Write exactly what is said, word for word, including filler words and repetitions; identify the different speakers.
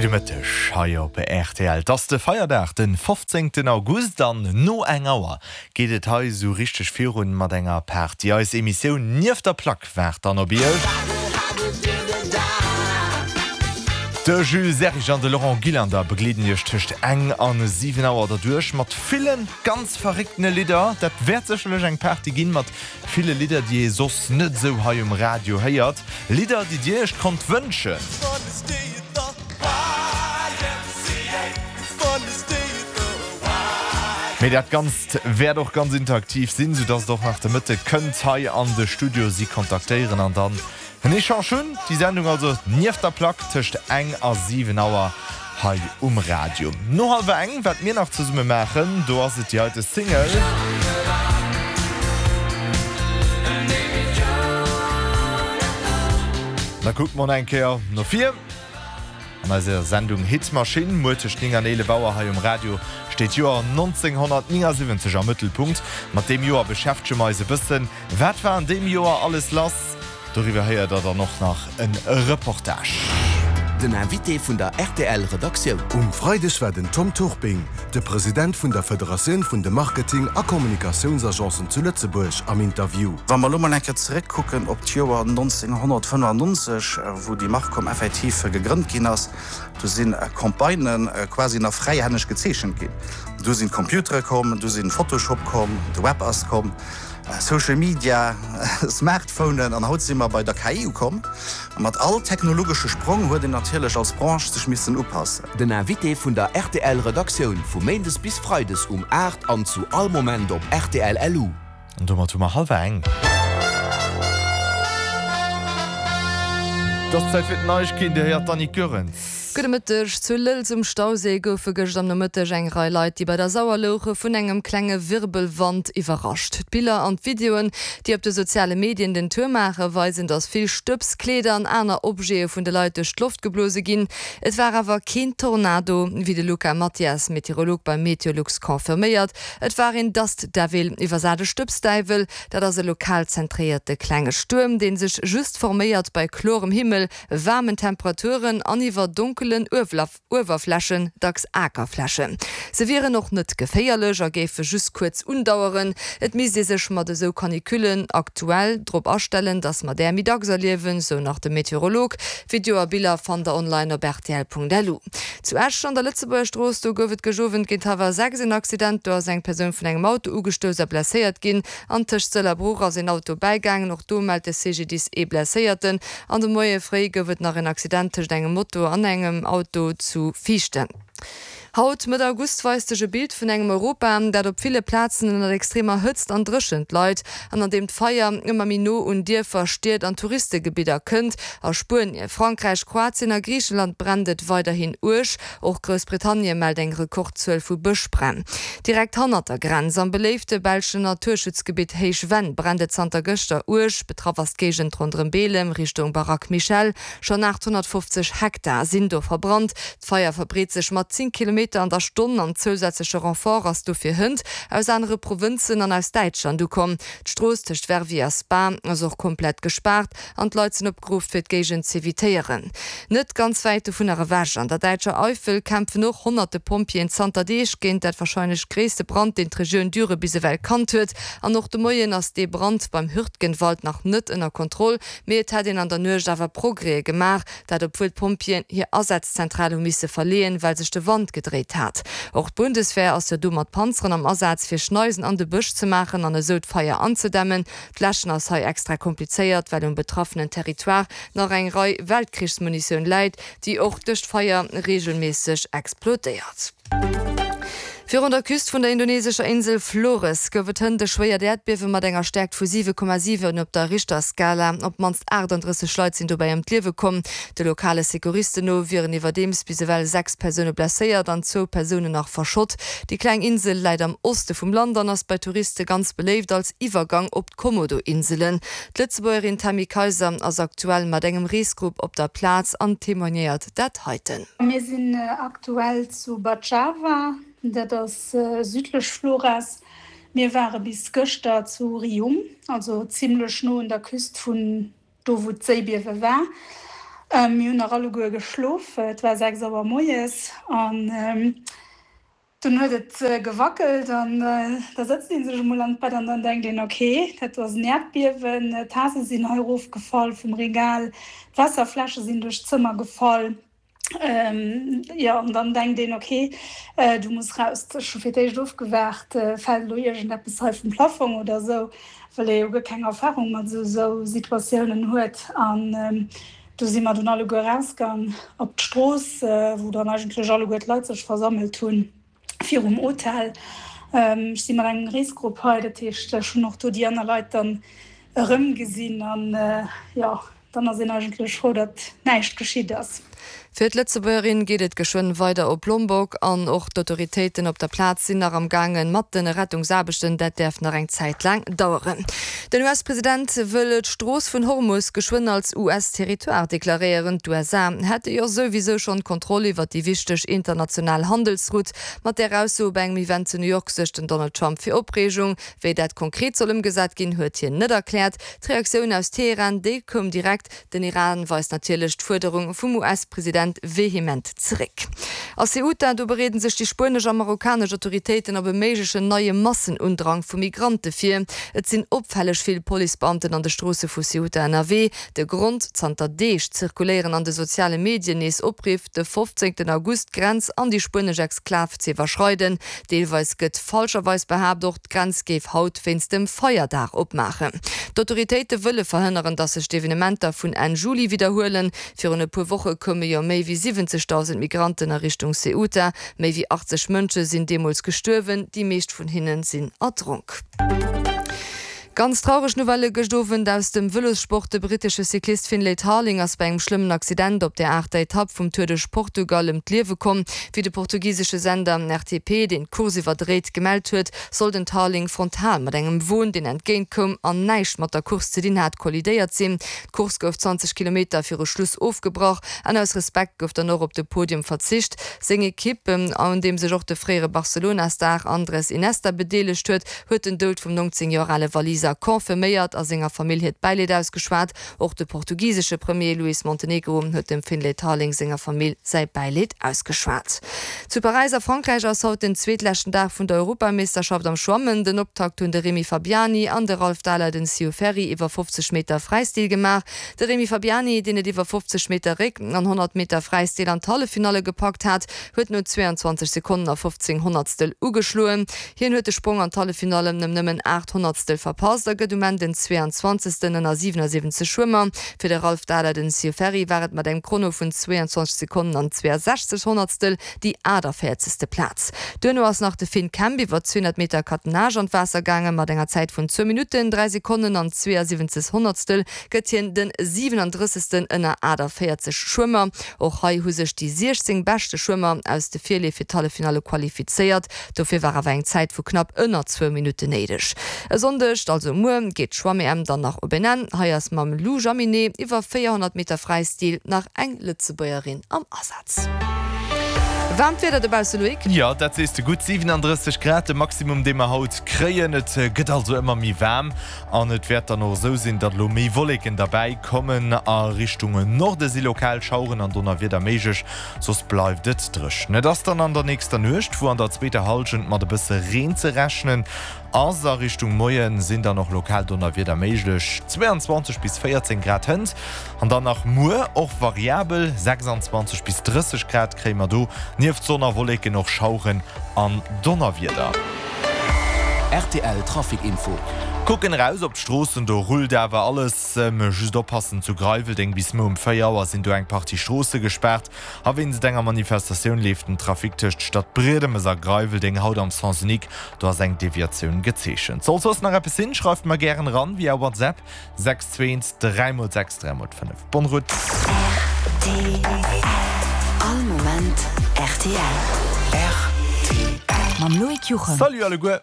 Speaker 1: Gudde Mëtteg hei op rtl. Et ass de Feierdag, den fofzéngten August an no eng Auer geet et hei esou richteg virun mat enger Party. Eis Emissioun Nieft der Plack waart dann op iech. De Jules Serrig an de Laurent Gillander begleeden iech tëscht eng an siwen Auer derduerch mat villen ganz verrécktene Lidder. Dat wäert sécherlech eng Party ginn mat ville Lidder, déi ee soss net esou hei um Radio héiert. Lidder, déi dir iech konnt wënschen. Mee dat Ganzt wäert och ganz interaktiv sinn, soudass der och nach de Mëtte kënnt hei an de Studio si kontaktéieren an dann en Echange hunn. Déi Sendung also Nieft der Plack tëscht eng a siwen Auer hei um Radio. No hallwer eng, wat mir nach zesumme maachen, do ass et déi heite Single. Da kucke mer eng Kéier no vir. An eiser Sendung Hitmaschinn muer tëscht néng an eelef Auer hei um Radio steet d'Joer nonzénghonnertnéngasiwwenzeg am Mëttelpunkt. Mat deem Joer beschäftege mer eis e bëssen. Wat war an deem Joer alles lass? Doriwwer héiert der dann och nach e Reportage.
Speaker 2: Den Invité vun der rtl Redaktioun.
Speaker 3: Um Freideg war den Tom Turping, de President vun der Federatioun vun de Marketing a Kommunikatiounsagencen zu Lëtzebuerg, am Interview.
Speaker 4: Wa mer elo mol eng Kéier zeréckkucken op d'Joer nonzénghonnertfënnefannonzeg, wou déi Marcom effektiv gegrënnt ginn ass, do si Campagnë quasi nach fräihänneg gezeechent ginn. Du sinn d'Computere komm, du sinn Photoshop komm, de Web ass komm, Social Media, Smartphonen an haut si mer bei der K I ukomm. A mat all technologesche Sprong huet een natierlech als Branche sech missen upassen.
Speaker 2: Den Invité vun der rtl Redaktioun vu Méindes bis Freides um aacht an zu all Moment op rtl LU.
Speaker 1: An domat hu mer hallwer eng. Et ass Zäit fir d'Neiegkeeten. Dir héiert d'Annick Goerens.
Speaker 5: Gudde Mëtteg. Zu Lëlz um Stauséi goufe gëscht am Nomëtteg eng Rei Leit, déi bei der Sauer louche, vun engem klenge Wirbelwand iwwerrascht. D'Biller an d'Videoen, déi op de soziale Medien den Tour maachen, weisen, datt vill Stëbs, Kleeder an aner Objete vun de Leit duerch d'Loft geblose ginn. Et war awer keen Tornado, wéi de Luca Mathias, Meteorolog bei Meteolux, confirméiert. Et war een Dust Devil, iwwersat e Stëbsdäiwel. Dat ass e lokal zentréierte klenge Stuerm, dee sech just forméiert bei klorem Himmel, waarmen Temperaturen an iwwer donkelen Uewerflächen, dacks Akerflächen. Se wieren och net geféierlech a géife just kuerz undaueren. Et misst ee sech mat esou Canicullen aktuell drop astellen, dass mer där méi dacks erliewen, sou nach de Meteorolog. Video a Biller fannt der online op rtl.lu. Zu Esch an der Lëtzebuerger Strooss, do gouf et gëscht Owend géint hallwer sechs en Accident. Do ass eng Persoun vun engem Auto ugestouss a blesséiert ginn. An tëscht Sëll a Bruch ass een Auto bäigaangen. Och do mellt de C G D I S ee Blesséierten. An de Moie fréi gouf et nach en Accident tëscht engem Moto an engem Auto zu Viichten. Haut, Mëtt August, weist sech e Bild vun engem Europa, dat op ville Plazen ënnert extremer Hëtzt an Dréchent leit an an deem d'Feier ëmmer méi no un Dierfer, Stied an Touristegebidder kënnt. A Spuenie, Frankräich, Kroatien a Griicheland brennt et weiderhin uerg. Och Groussbritannie mellt eng Rekordzuel vu Bëschbränn. Direkt hannert der Grenz, am beléifte belschen Naturschutzgebitt Héich Venn, brennt et zanter gëschter uerg. Betraff ass d'Géigend ronderëm Beelem, Richtung Baraque Michel. Schonn achthonnertfofzeg Hektar sinn do verbrannt. D'Feier verbreet sech mat zéng Kilometer an der Stonn an zousätzleche Renfort ass dofir hënt aus anere Provënzen an aus Däitschland ukomm. D'Strooss tëscht Verviers a Spa ass och komplett gespaart an d'Leit sinn opgeruff fir d'Géigend z'evitéieren. Net ganz wäit dovunner ewech, an der däitscher Eifel, kämpfen och honnerte Pompjeeën zanter Deeg géint dat warscheinlech gréisste Brand, deen d'Regioun Düre bis ewell kannt huet. An och de Moien ass dee Brand beim Hürtgenwald nach net ënner Kontroll, mee et hätt een an der Nuecht awer Progrèse gemaach, dat obwuel d'Pompjeeën hir Asazzentral hu misse verleeën, well sech de Wand gedréit hat. Och d'Bundeswehr ass jo do mat Panzeren am Asaz, fir Schneisen an de Bësch ze maachen an esou d'Feier anzedämmen. D'Läschen ass hei extra komplizéiert, well um betraffenen Territoire nach eng Rei Weltkrichsmunitioun läit, déi och duerch d'Feier reegelméisseg explodéiert. Virun der Küst vun der indonesescher Insel Flores gouf et hënt e schwéiert Äerdbiewe mat enger Stäerkt vu siwe Komma siwen op der Richterskala. Op d'mannst aachtanddrësseg Leit sinn dobäi ëm d'Liewe komm. De lokale Secouristen no wieren iwwerdeems bis ewell sechs Persoune blesséiert an zwou Persounen nach verschott. Déi kleng Insel läit am Oste vum Land an ass bei Touriste ganz beléift als Iwwergang op d'Komodo-Inselen. D'Lëtzebuergerin Tammy Kayser ass aktuell mat engem Reesgrupp op der Plaz an témoignéiert dat heiten.
Speaker 6: Mir sinn aktuell zu Bajawa, dat ass südlech Flores. Mir ware bis gëschter zu Rium, also zimlech no un der Küst vun do wou d'Séibiewe war. Mir hunn nach alleguer geschlof, et war sechs Auer moies an dunn huet et gewackelt an da sëtzt ee sech emol an d'Bett an dann denkt een, ok, dat do ass en Äerdbiewen, d'Tase sinn hei erofgefall vum Regal, d'Waasserfläsche sinn duerch d'Zëmmer gefall. Jo, an dann denkt een, ok, du muss raus. Ech hu fir d'éischt ofgewaart, fält elo iergendeppes hei vum Plaffong oder esou, well ee jo guer keng Erfarung mat esou Situatiounen huet. An do si mer dunn alleguer erausgang op d'Strooss, wou dann eigentlech alleguer d'Leit sech versammelt hunn virum Hotel. Ech si mat engem Reesgrupp hei, dat heescht, ech hunn och do déi aner Leit dann erëmgesinn. An jo, dann ass een eigentlech frou, datt näischt geschitt ass.
Speaker 5: Fir d'Lëtzebuergerin geet et geschwënn weider op Lombok an och d'Autoritéiten op der Plaz sinn nach am gaangen mat de Rettungsaarbechten. Dat däerf nach eng Zäit laang daueren. Den U S-President wëll d'Strooss vun Hormus geschwënn als U S-Territoire deklaréieren. D'U S A hätte jo souwisou schonn d'Kontroll iwwer déi wichteg international Handelsroute. Mat där Ausso bei engem Event zu New York suergt den Donald Trump fir Opreegung. Wéi dat konkret soll ëmgesat ginn, huet hien net erkläert. D'Reaktioun aus Teheran, déi koum direkt. Den Iran weist natierlech d'Fuerderung vum U S-President vehement zeréck. A Ceuta, do bereeden sech déi spuenesch a marokkanesch Autoritéiten op e méiglechen neie Massenundrang vu Migrante vir. Et sinn opfälleg vill Policebeamten an de Stroosse vu Ceuta ënnerwee. De Grond, Zanter Deeg zirkuléieren an de soziale Medien nees Opriff, de fofzéngten August d'Grenz an déi spuenesch Exklav ze iwwerschreiden. Deelweis gëtt falscherweis behaapt, och d'Grenz géif haut wéinst dem Feierdag opmaachen. D'Autoritéite wëlle verhënneren, datt sech d'Evenementer vun Enn Juli widderhuelen. Virun e puer Woche koume jo méi wéi siwwenzegdausend Migranten a Richtung Ceuta. Méi wéi achtzeg Mënsche sinn deemools gestuerwen, déi meescht vun hinne sinn erdronk. Ganz traureg Nouvelle gëscht Owend aus dem Vëlossport, De brittesche Cyclist Finlay Tarling ass bei engem schlëmmen Accident op der aachter Etapp vum Tour de Portugal ëm d'Liewe komm. Wéi de portugisesche Sender R T P, deen d'Course iwwerdréit, gemellt huet, soll den Tarling frontal mat engem Won, deen entgéint koum an näischt mat der Course ze dinn hat, kollidéiert sinn. D'Course gouf zwanzeg Kilometer viru Schluss ofgebrach an aus Respekt gouf dann och op de Podium verzicht. Seng Ekipp, un deem sech och de fréiere Barcelona-Star Andres Iniesta bedeelegt huet, huet den Doud vum neunzéng Joer ale Waliser confirméiert a senger Famill hiert Bäileed ausgeschwat. Och de portugisesche Premier Luís Montenegro huet dem Finlay Tarling senger Famill säi Bäileed ausgeschwat. Zu Paräis a Frankräich ass haut den zweetleschten Dag vun der Europameeschterschaft am Schwammen. Den Optakt hunn de Rémi Fabiani an de Ralph Daleiden Ciuferri iwwer fofzeg Meter Fräistil gemaach. De Rémi Fabiani, deen et iwwer fofzeg Meter Réck an honnert Meter Fräistil an d'Halleffinalle gepackt hat, huet no zweeanzwanzeg Sekonnen a fofzéng Honnertstel ugeschloen. Hien huet de Sprong an d'Halleffinallen ëm nëmmen aacht Honnertstel verpasst a gëtt um Enn den zweeanzwanzegsten ënner siwenassiwwenzeg Schwëmmer. Fir de Ralph Daleiden Ciuferri war et mat engem Chrono vun zweeanzwanzeg Sekonnen an zweeasechzeg Honnertstel déi aachtavéierzegste Plaz. Duerno ass nach de Finn Kemp iwwer zweehonnert Meter Catenage an d'Waasser gaangen. Mat enger Zäit vun zwou Minutten, dräi Sekonnen an zweeasiwwenzeg Honnertstel gëtt hien den siwenandrëssegsten ënner aachtavéierzeg Schwëmmer. Och hei hu sech déi siechzéng beschte Schwëmmer aus de Virleef fir d'Halleffinalle qualifizéiert. Dofir war awer eng Zäit vu knapp ënner zwou Minutten néideg. E Sonndeg, also muer, geet d'Schwamm-E M dann nach op en Enn. Hei ass mam Lou Jaminet iwwer véierhonnert Meter Fräistil nach eng Lëtzebuergerin am Asaz. Waarmt Wieder dobausse, Loïc?
Speaker 1: Jo, dat sees de gutt, siwenandrësseg Grad de Maximum, dee mer haut kréien. Et gëtt also ëmmer méi waarm an et wäert dann och esou sinn, datt elo méi Wolleken derbäi kommen. A Richtung Norde si lokal Schaueren an Donnerwieder méiglech, soss bleift et dréchen. Et ass dann an der nächster Nuecht, wou an der zweeter Hallschent mat e bësse Reen ze rechnen ass. A Richtung Moie sinn dann och lokal Donnerwieder méiglech, zweiundzwanzeg bis véierzéng Grad hënt an dann nach muer och variabel, sechsanzwanzeg bis drësseg Grad kréie mer do nieft Sonn a Wolleken och Schaueren an Donnerwieder.
Speaker 2: R T L Trafic Info.
Speaker 1: Kucken eraus op d'Stroossen, do rullt awer alles. Just oppassen, zu Greiweldeng bis muer um véier Auer sinn do eng Partie Stroosse gespaart a wéinst enger Manifestatioun leeft den Trafic tëscht Stadbriedemes a Greiweldeng haut am Sens unique, do ass eng Deviatioun gezeechent. Sollt soss nach eppes sinn, schreift mer gären eran via WhatsApp, sechs zwee eent dräi mol sechs dräi mol fënnef. Bonne route.
Speaker 7: R T L All Moment R T L.
Speaker 2: R T L.
Speaker 7: Mam Loïc Juchem.
Speaker 1: Salut alleguer!